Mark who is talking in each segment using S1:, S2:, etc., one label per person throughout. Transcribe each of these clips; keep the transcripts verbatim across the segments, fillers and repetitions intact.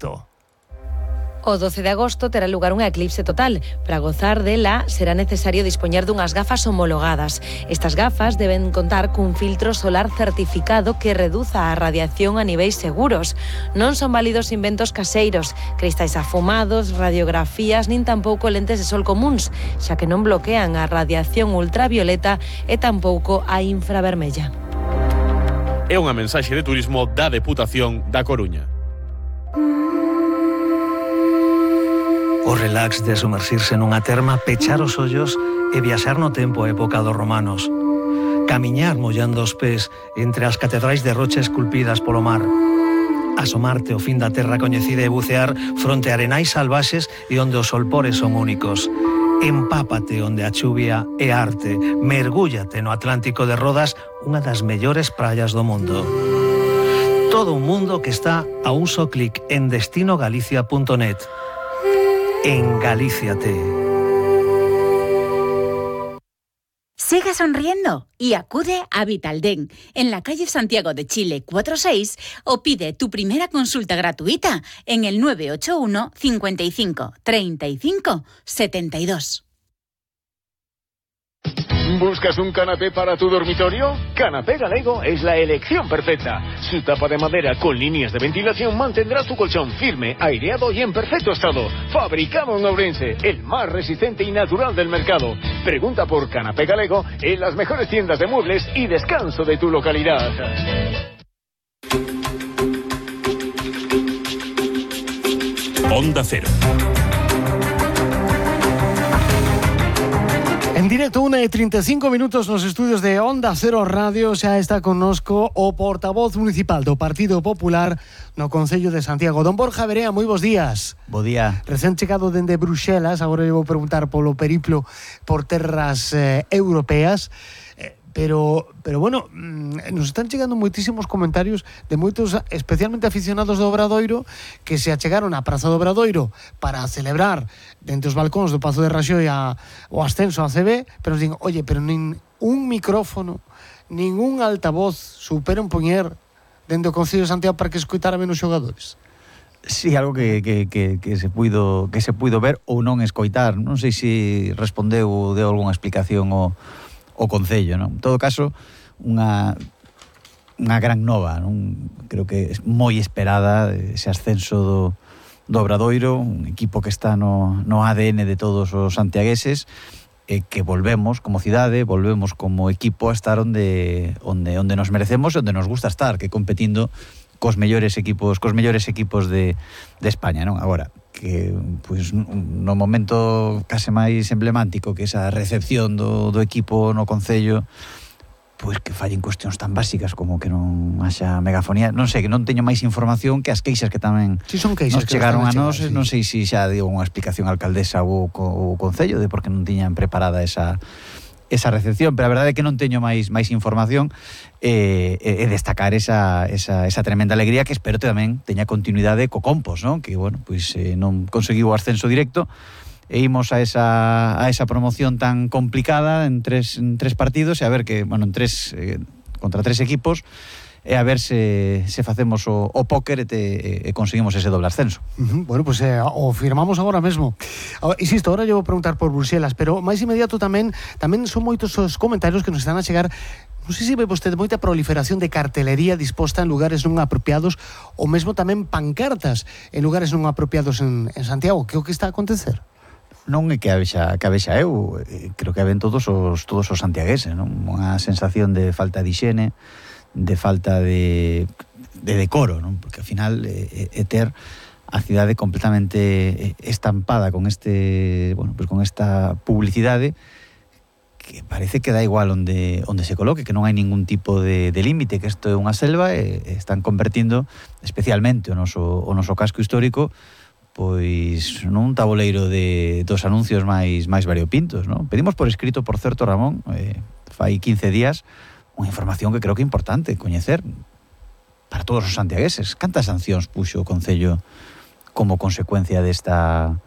S1: agosto.
S2: O doce de agosto terá lugar unha eclipse total. Para gozar dela será necesario dispoñer dunhas gafas homologadas. Estas gafas deben contar cun filtro solar certificado que reduza a radiación a niveis seguros. Non son válidos inventos caseiros, cristais afumados, radiografías nin tampouco lentes de sol comuns, xa que non bloquean a radiación ultravioleta e tampouco a infravermella.
S3: É unha mensaxe de turismo da Deputación da Coruña.
S4: O relax de sumersirse nunha terma, pechar os ollos e viaxar no tempo a época dos romanos. Camiñar mollando os pés entre as catedrais de rocha esculpidas polo mar. Asomarte ao fin da terra coñecida e bucear fronte a arenais salvaxes e onde os solpores son únicos. Empápate onde a chuvia é arte. Mergúllate no Atlántico de Rodas, unha das mellores praias do mundo. Todo un mundo que está a un só clic en destino galicia punto net. En Galíciate.
S5: Siga sonriendo y acude a Vitaldent en la calle Santiago de Chile cuatro seis o pide tu primera consulta gratuita en el nueve ocho uno, cincuenta y cinco, treinta y cinco, setenta y dos.
S6: ¿Buscas un canapé para tu dormitorio? Canapé Galego es la elección perfecta. Su tapa de madera con líneas de ventilación mantendrá tu colchón firme, aireado y en perfecto estado. Fabricado en Ourense, el más resistente y natural del mercado. Pregunta por Canapé Galego en las mejores tiendas de muebles y descanso de tu localidad.
S3: Onda Cero.
S1: En directo, una e trinta e cinco minutos nos estudios de Onda Cero Radio. Xa está connosco o portavoz municipal do Partido Popular no Concello de Santiago, don Borja Verea. Moi bons días.
S7: Bo día.
S1: Recén chegado dende Bruxelas, agora eu vou preguntar polo periplo por terras eh, europeas. Eh, pero, pero bueno, nos están chegando moitísimos comentarios de moitos, especialmente aficionados do Obradoiro, que se achegaron á Praza do Obradoiro para celebrar dentro os balcóns do Pazo de Raxoi a, o ascenso a C B, pero nos din, oye, pero nin un micrófono, ningún altavoz superan poñer dentro do Concello de Santiago para que escoitara menos xogadores.
S7: Sí, algo que, que, que, que se puido que se puido ver ou non escoitar. Non sei se respondeu ou deu algunha explicación o, o Concello, non? En todo caso, unha unha gran nova, non? Creo que é moi esperada ese ascenso do, do Obradoiro, un equipo que está no, no A D N de todos os santiagueses, e que volvemos como cidade, volvemos como equipo a estar onde onde onde nos merecemos e onde nos gusta estar, que competindo cos mellores equipos, cos mellores equipos de de España, non? Agora que pois no momento case máis emblemático que esa recepción do do equipo no Concello, pois que fallen cuestións tan básicas como que non haxa megafonía, non sei, que non teño máis información que as queixas que tamén
S1: si son queixas
S7: nos chegaron a nós,
S1: sí.
S7: Non sei se xa digo unha explicación a alcaldesa ou o Concello de por que non tiñan preparada esa esa recepción, pero a verdade é que non teño máis máis información e, e destacar esa, esa, esa tremenda alegría que espero tamén teña continuidade co Compos, non? Que, bueno, pois eh, non conseguiu o ascenso directo e imos a esa, a esa promoción tan complicada en tres, en tres partidos e a ver que, bueno, en tres eh, contra tres equipos e a ver se, se facemos o, o póker e, te, e conseguimos ese doble ascenso.
S1: Uh-huh. Bueno, pues eh, o firmamos agora mesmo. Ahora, insisto, ahora eu vou preguntar por Bruxelas, pero máis inmediato tamén tamén son moitos os comentarios que nos están a chegar. Non sei se ve vostede moita proliferación de cartelería disposta en lugares non apropiados ou mesmo tamén pancartas en lugares non apropiados en, en Santiago. Que é o que está a acontecer?
S7: Non é que a vexa, que a vexa eu, creo que ven todos os todos os santiagueses, non? Unha sensación de falta de higiene, de falta de, de decoro, non? Porque ao final é, é ter a cidade completamente estampada con este, bueno, pues con esta publicidade que parece que dá igual onde onde se coloque, que non hai ningún tipo de, de límite, que isto é unha selva e, e están convertindo especialmente o noso o noso casco histórico pois nun tabuleiro de dos anuncios máis máis variopintos, non? Pedimos por escrito, por certo, Ramón, eh, fai quince días, unha información que creo que é importante coñecer para todos os santiagueses. Cantas sancións puxo o Concello como consecuencia desta,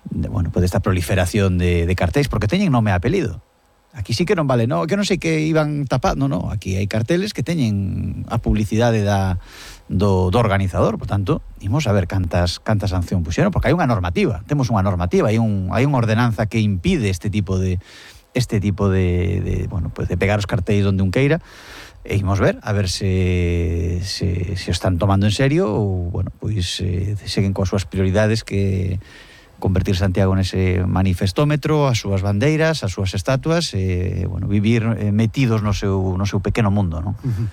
S7: de, bueno, pues desta proliferación de, de cartéis, porque teñen nome e apelido. Aquí sí que non vale, no, que non sei que iban tapando, no, aquí hai carteles que teñen a publicidade da, do, do organizador. Por tanto, imos a ver cantas, cantas sanción puxeron, porque hai unha normativa, temos unha normativa, hai, un, hai unha ordenanza que impide este tipo de este tipo de, de, bueno, pues de pegar os cartéis onde un queira, e imos ver, a ver se, se, se están tomando en serio ou, bueno, pois eh, seguen coas súas prioridades, que convertir Santiago nese manifestómetro, as súas bandeiras, as súas estatuas, e, bueno, vivir eh, metidos no seu, no seu pequeno mundo, non?
S1: Uh-huh.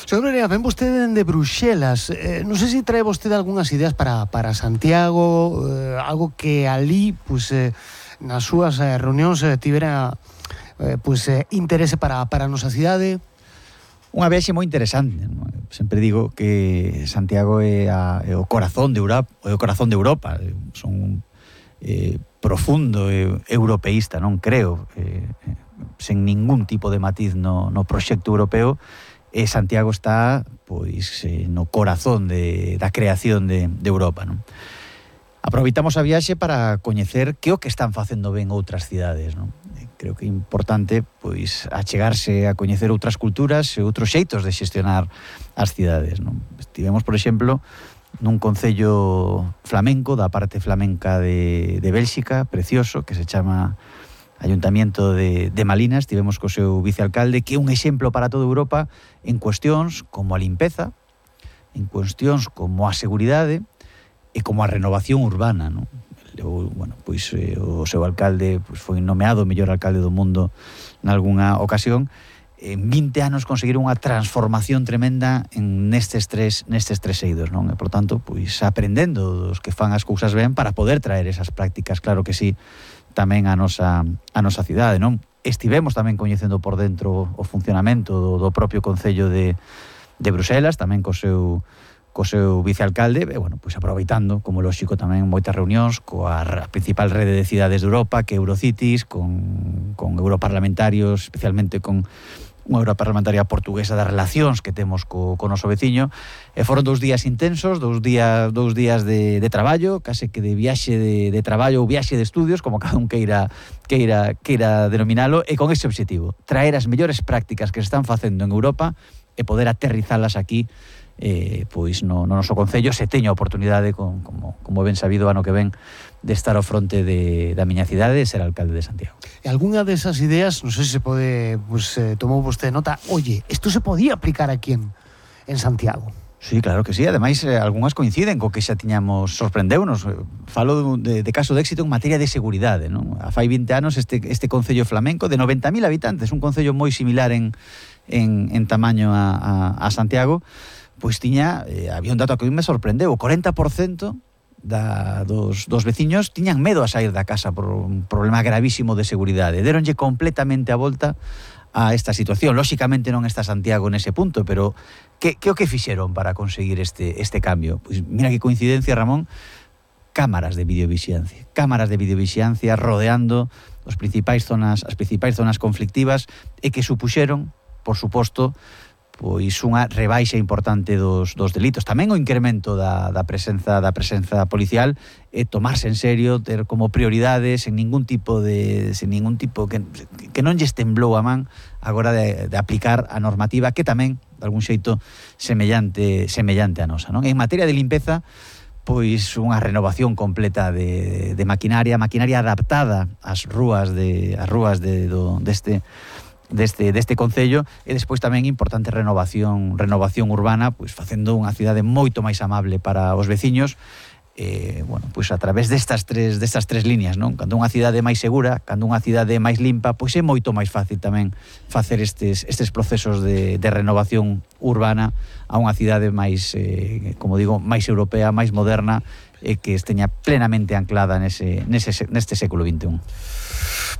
S1: Señor Barea, ven vostede de Bruxelas, eh, non sei se trae vostede algunhas ideas para, para Santiago, eh, algo que ali, pues, eh, nas súas eh, reunións eh, tivera eh, pues, eh, interese para, para a nosa cidade.
S7: Unha viaxe moi interesante, non? Sempre digo que Santiago é, a, é o corazón de Europa, é o corazón de Europa. Son eh, profundo e europeísta, non creo, eh, sen ningún tipo de matiz no, no proxecto europeo, e Santiago está pois eh, no corazón de, da creación de, de Europa, non? Aproveitamos a viaxe para coñecer que o que están facendo ben outras cidades, non? Creo que é importante pois achegarse a coñecer outras culturas e outros xeitos de xestionar as cidades, non? Estivemos, por exemplo, nun concello flamenco, da parte flamenca de, de Bélxica, precioso, que se chama Ayuntamiento de, de Malinas. Estivemos co seu vicealcalde, que é un exemplo para toda Europa en cuestións como a limpeza, en cuestións como a seguridade e como a renovación urbana, non? O, bueno, pois eh, o seu alcalde pois, foi nomeado o mellor alcalde do mundo nalgúna ocasión. En vinte anos conseguiron unha transformación tremenda en nestes tres nestes tres eidos, non? E, por tanto, pois aprendendo dos que fan as cousas ben para poder traer esas prácticas, claro que sí, tamén a nosa a nosa cidade, non? Estivemos tamén coñecendo por dentro o funcionamento do, do propio concello de de Bruxelas, tamén co seu co seu vicealcalde, e, bueno, pois aproveitando, como lóxico, tamén moitas reunións coa principal rede de cidades de Europa, que é Eurocities, con, con europarlamentarios, especialmente con unha europarlamentaria portuguesa das relacións que temos co, co noso veciño, e foron dous días intensos, dous días dous días de, de traballo, case que de viaxe de, de traballo ou viaxe de estudios, como cada un queira, queira, queira denominalo, e con ese objetivo, traer as mellores prácticas que se están facendo en Europa e poder aterrizalas aquí, eh, pois no, no noso concello, se teño a oportunidade, con, como, como ben sabido ano que ven, de estar ao fronte de, da miña cidade e ser alcalde de Santiago.
S1: E algunha desas ideas, non sei se se pode, pues, eh, tomou vostede nota, oye, isto se podía aplicar aquí en, en Santiago.
S7: Sí, claro que sí, ademais eh, algunhas coinciden co que xa tiñamos, sorprendeunos. Falo de, de caso de éxito en materia de seguridade, non? A fai vinte anos este, este concello flamenco de noventa mil habitantes, un concello moi similar en, en, en tamaño a, a, a Santiago, pois tiña, eh, había un dato que a mí me sorprendeu, o corenta por cento da, dos, dos veciños tiñan medo a sair da casa por un problema gravísimo de seguridade. Deronlle completamente a volta a esta situación. Lóxicamente non está Santiago nese punto, pero que, que o que fixeron para conseguir este, este cambio? Pois mira que coincidencia, Ramón, cámaras de videovixiancia, cámaras de videovixiancia rodeando os principais zonas, as principais zonas conflictivas, e que supuxeron, por suposto, pois unha rebaixa importante dos, dos delitos. Tamén o incremento da, da presenza da presenza policial, e tomarse en serio, ter como prioridades en ningún tipo de sen ningún tipo que, que non lles temblou a man agora de, de aplicar a normativa que tamén, de algún xeito, semellante semellante a nosa, non? En materia de limpeza, pois unha renovación completa de, de maquinaria, maquinaria adaptada ás rúas de ás rúas de do deste deste deste concello, e despois tamén importante renovación renovación urbana, pois facendo unha cidade moito máis amable para os veciños. Eh, bueno, pois a través destas tres destas tres líneas, non? Cando unha cidade máis segura, cando unha cidade máis limpa, pois é moito máis fácil tamén facer estes estes procesos de, de renovación urbana a unha cidade máis, eh, como digo, máis europea, máis moderna, e que esteña plenamente anclada nese, nese, neste século vinte e un.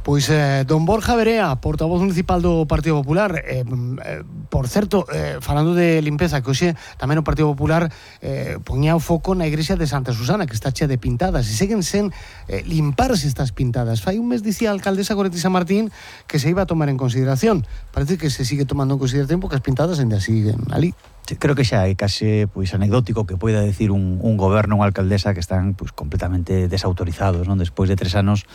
S1: Pois eh, don Borja Barea, portavoz municipal do Partido Popular, eh, eh, por certo, eh, falando de limpeza, que hoxe tamén o Partido Popular eh, poñía o foco na igrexa de Santa Susana, que está chea de pintadas, e seguen sen eh, limparse estas pintadas. Fai un mes dicía a alcaldesa Goretti San Martín que se iba a tomar en consideración. Parece que se sigue tomando en consideración porque as pintadas ainda siguen ali.
S7: Creo que xa é case pois anecdótico que poida decir un, un goberno, unha alcaldesa que están pois completamente desautorizados, non? Despois de tres anos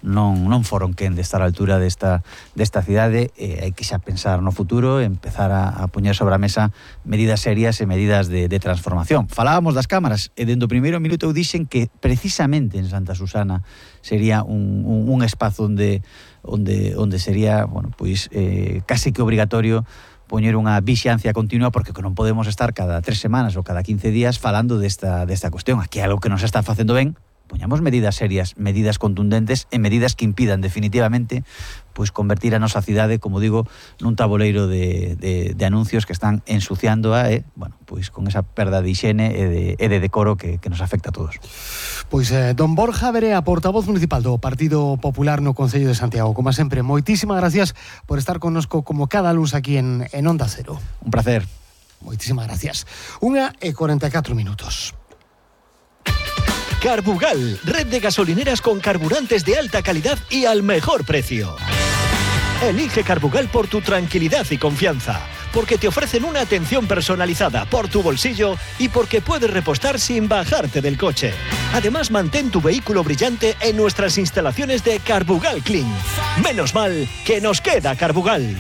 S7: non, non foron quen de estar á altura desta, desta cidade. E hai que xa pensar no futuro, empezar a, a poñer sobre a mesa medidas serias e medidas de, de transformación. Falábamos das cámaras e dende o primeiro minuto eu dixen que precisamente en Santa Susana sería un, un, un espazo onde onde onde sería, bueno, pois eh, case que obrigatorio poñer unha vixiancia continua, porque non podemos estar cada tres semanas ou cada quince días falando desta desta cuestión. Aquí é algo que nos está facendo ben. Poñamos medidas serias, medidas contundentes e medidas que impidan definitivamente pois convertir a nosa cidade, como digo, nun tabuleiro de, de, de anuncios que están ensuciando a, eh, bueno, pois con esa perda de higiene e de, e de decoro que, que nos afecta a todos.
S1: Pois eh, don Borja Verea, portavoz municipal do Partido Popular no Concello de Santiago. Como sempre, moitísimas gracias por estar connosco como cada luz aquí en, en Onda Cero.
S7: Un placer.
S1: Moitísimas gracias. Unha e cuarenta e catro minutos.
S8: Carbugal, red de gasolineras con carburantes de alta calidad y al mejor precio. Elige Carbugal por tu tranquilidad y confianza, porque te ofrecen una atención personalizada por tu bolsillo y porque puedes repostar sin bajarte del coche. Además, mantén tu vehículo brillante en nuestras instalaciones de Carbugal Clean. Menos mal que nos queda Carbugal.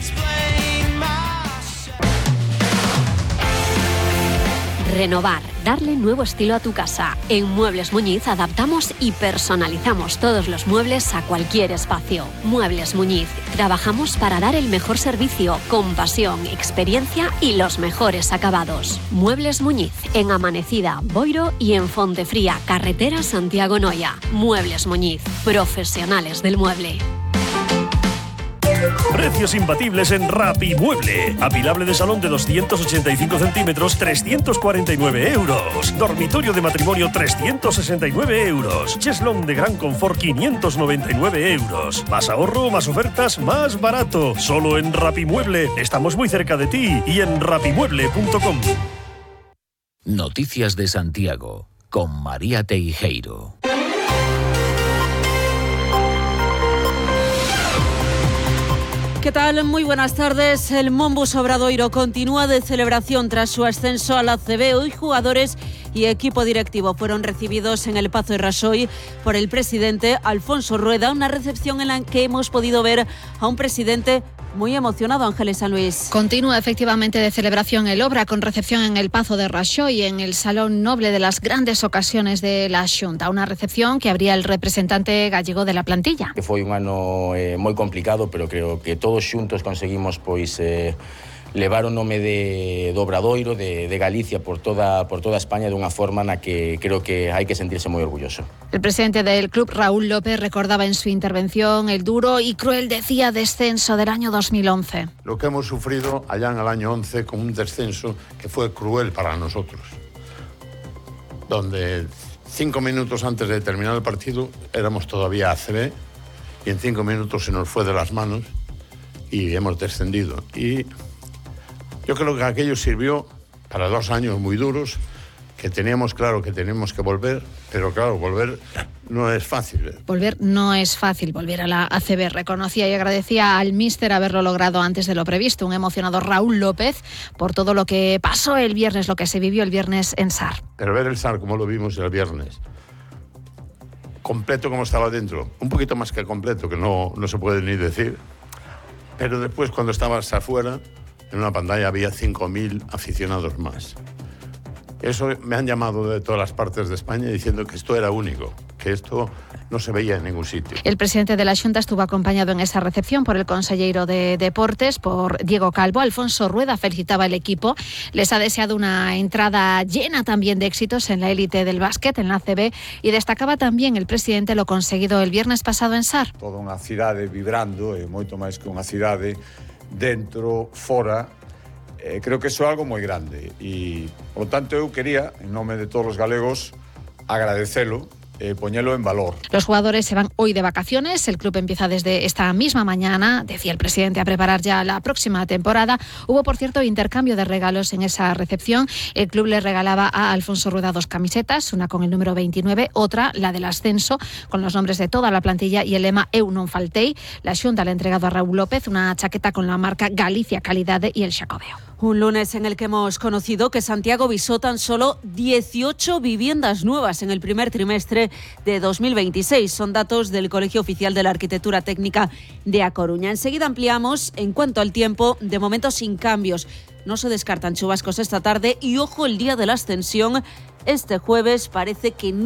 S9: Renovar, darle nuevo estilo a tu casa. En Muebles Muñiz adaptamos y personalizamos todos los muebles a cualquier espacio. Muebles Muñiz, trabajamos para dar el mejor servicio, con pasión, experiencia y los mejores acabados. Muebles Muñiz, en Amanecida, Boiro y en Fontefría, carretera Santiago-Noya. Muebles Muñiz, profesionales del mueble.
S10: Precios imbatibles en Rapimueble. Apilable de salón de doscientos ochenta y cinco centímetros, trescientos cuarenta y nueve euros. Dormitorio de matrimonio, trescientos sesenta y nueve euros. Cheslón de gran confort, quinientos noventa y nueve euros. Más ahorro, más ofertas, más barato. Solo en Rapimueble. Estamos muy cerca de ti y en rapimueble punto com.
S11: Noticias de Santiago con María Teijeiro.
S12: ¿Qué tal? Muy buenas tardes. El Monbus Obradoiro continúa de celebración tras su ascenso a la A C B. Hoy jugadores y equipo directivo fueron recibidos en el Pazo de Raxoi por el presidente Alfonso Rueda, una recepción en la que hemos podido ver a un presidente muy emocionado. Ángeles San Luis.
S13: Continúa efectivamente de celebración el Obra, con recepción en el Pazo de Raxoi, en el Salón Noble de las grandes ocasiones de la Xunta. Una recepción que abría el representante gallego de la plantilla.
S14: Que foi un ano eh, moi complicado, pero creo que todos xuntos conseguimos pois eh, levar o nome de, do Obradoiro, de, de Galicia por toda, por toda España dunha forma na que creo que hai que sentirse moi orgulloso.
S13: El presidente del club, Raúl López, recordaba en su intervención el duro y cruel, decía, descenso del año dos mil once.
S15: Lo que hemos sufrido allá en el año once con un descenso que fue cruel para nosotros, donde cinco minutos antes de terminar el partido éramos todavía A C B y en cinco minutos se nos fue de las manos y hemos descendido. Y yo creo que aquello sirvió para dos años muy duros, que teníamos claro que tenemos que volver, pero claro, volver no es fácil.
S13: Volver no es fácil, volver a la A C B. Reconocía y agradecía al míster haberlo logrado antes de lo previsto. Un emocionado Raúl López por todo lo que pasó el viernes, lo que se vivió el viernes en S A R.
S15: Pero ver el S A R como lo vimos el viernes, completo como estaba dentro, un poquito más que completo, que no, no se puede ni decir, pero después cuando estabas afuera, en una pantalla había cinco mil aficionados más. Eso me han llamado de todas las partes de España diciendo que esto era único, que esto no se veía en ningún sitio.
S13: El presidente de la Xunta estuvo acompañado en esa recepción por el consellero de Deportes, por Diego Calvo. Alfonso Rueda felicitaba al equipo. Les ha deseado una entrada llena también de éxitos en la élite del básquet, en la A C B, y destacaba también el presidente lo conseguido el viernes pasado en S A R.
S16: Toda unha cidade vibrando, e moito máis que unha cidade, dentro, fora. Eh, creo que iso é algo moi grande e, por tanto, eu quería, en nome de todos os galegos, agradecelo e poñelo en valor.
S13: Los jugadores se van hoy de vacaciones. El club empieza desde esta misma mañana, decía el presidente, a preparar ya la próxima temporada. Hubo, por cierto, intercambio de regalos en esa recepción. El club le regalaba a Alfonso Rueda dos camisetas, una con el número veintinueve, otra, la del ascenso, con los nombres de toda la plantilla y el lema Eu non faltei. La Xunta le ha entregado a Raúl López una chaqueta con la marca Galicia Calidade y el Xacobeo.
S12: Un lunes en el que hemos conocido que Santiago visó tan solo dieciocho viviendas nuevas en el primer trimestre de dos mil veintiséis. Son datos del Colegio Oficial de la Arquitectura Técnica de A Coruña. Enseguida ampliamos. En cuanto al tiempo, de momento sin cambios. No se descartan chubascos esta tarde y ojo el día de la Ascensión. Este jueves parece que no